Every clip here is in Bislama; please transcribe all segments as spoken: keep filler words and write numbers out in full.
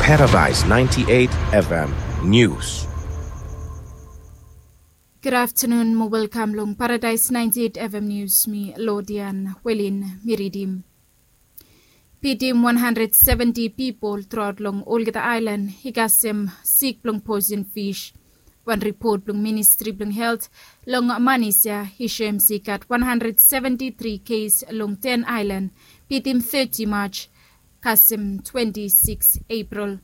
Paradise ninety-eight F M News. Good afternoon mo welkam long Paradise ninety-eight F M News. Mi Lodian Welin mi ridim. Pitim wan handred seventi pipol truaot long olgeta aelan i kasem sik blong poison fish. Wan ripot blong Ministri blong Helt long manis ya i soem se i gat wan handred seventi tri kes long ten aelan pitim teti Maj kasem twenti sikis Epril.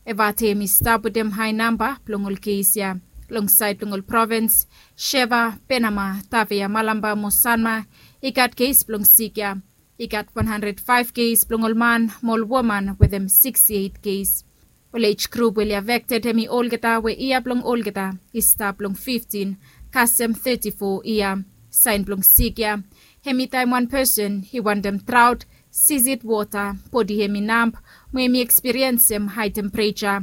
Evate hem i stap wetem hae namba blong ol kes ya. Long saed blong ol provins Sheva, Penama, Tavea, Malamba mo Sanma i gat kes blong sik ya. I gat wan handred faef kes blong ol man mo ol woman wetem siksti eit kes. Ol ej grup we oli afekted hem i olgeta we yia blong olgeta i stap long fiftin kasem teti fo yia. Saen blong sik ya hem i taem wan pesen i wantem traot, sisit wota, bodi hem i namp mo hem i ekspiriensem hae tempereja.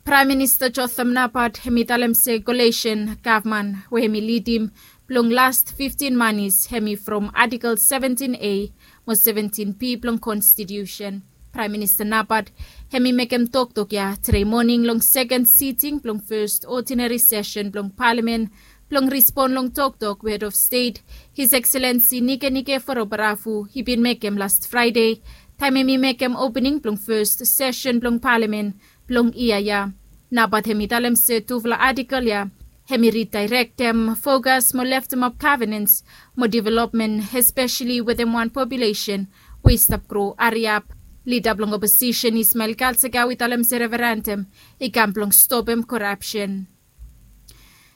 Praem Minista Jotham Napat hem i talem se kolesen gavman we hem i lidim blong las fiftin manis hem i from Artikel seventin A mo seventin B blong Konstitiusen. Praem Minista Napat hem i mekem toktok ya tede moning long seken siting blong fes odinari sesen blong palamen blong rispon long toktok we Hed of Stet, His Excellency Nikenike Vurobaravu, i bin mekem las Fraede taem hem i mekem opening blong fes sesen blong palamen blong yia ya. Napat hem i talem se tufala artikel ya hem i ridaerektem fokas mo leftemap gavenens mo developmen, espeseli wetem wan populesen we i stap gro hariap. Lida blong oposisen Ismael Kalsakau i talem se referendam i kam blong stopem korapsen.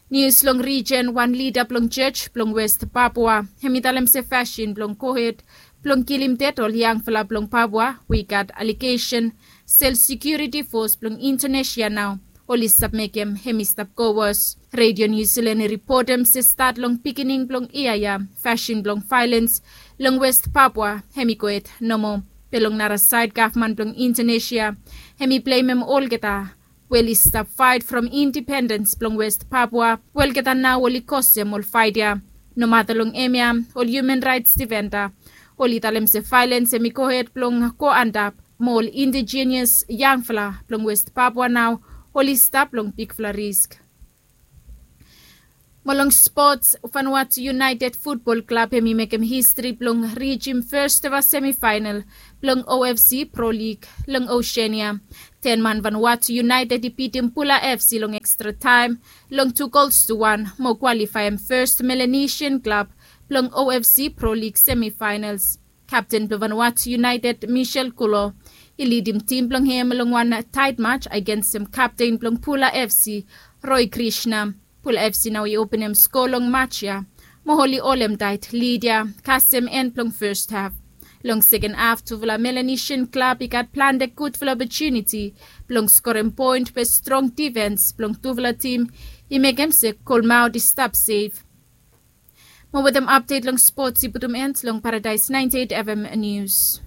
Nius long rijen, wan lida blong jos blong West Papua hem i talem se fasin blong gohed blong kilim ded ol yangfala blong Papua we i gat alegesen se ol sekiuriti fos blong Indonesia nao oli stap mekem hem i stap go wos. Redio Niu Silan i ripotem se stat long pikinini blong yia ya fasin blong vaelens long West Papua hem i gohed nomo. Be long nara saed gavman blong Indonesia hem i blemem olgeta we oli stap faet from indipendens blong West Papua we olgeta nao oli kosem ol faet ya. Nomata long hemia ol hiuman raets difenda oli talem se vaelens hem i gohed blong go antap mo ol indijenias yangfala blong West Papua nao oli stap long bigfala risk. Mo long spots, Vanuatu United Futbol Klab hem i mekem histri blong rijim fes ever semifaenal blong O F C Pro Lig long Oseania. Ten man Vanuatu United i bitim Pula F C long ekstra taem long tu gols tu wan mo kwalifaem fes Melanesian klab blong O F C Pro Lig semifaenals. Kapten blong Vanuatu United, Michel Kulo, i lidim tim blong hem long wan taet maj agensem kapten blong Pula F C, Roy Krishna. Pula F C nao i openem sko long maj ya mo oli holem taet lid ya kasem en blong fes haf. Long seken haf tufala Melanesian klab i gat plante gudfala opotuniti blong skorem poen be strong difens blong tufala tim i mekem se golmaot i stap sef. Mo wetem apdet long spots i putum en long Paradise ninety-eight F M News.